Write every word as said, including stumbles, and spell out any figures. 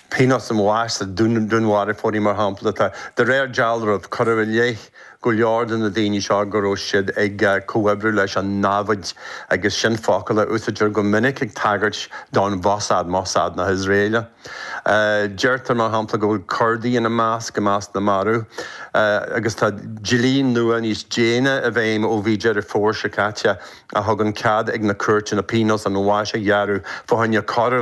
Pionós an bháis sa dúnmharfóirí mar shampla tá de réir dealraimh cuireadh i leith go leor de na daoine seo go raibh siad ag comhoibriú leis an namhaid agus sin focal a úsáidtear go minic ag tagairt don Mhossad Mossad na hIosraeile. Deirtear mar shampla go bhfuil Curdaigh ina measc i measc na marbh agus tá dlí nua níos déine i bhfeidhm ó mhí Deireadh Fómhair seo caite a thugann cead ag na cúirteanna pionós an bháis a ghearradh fá choinne coir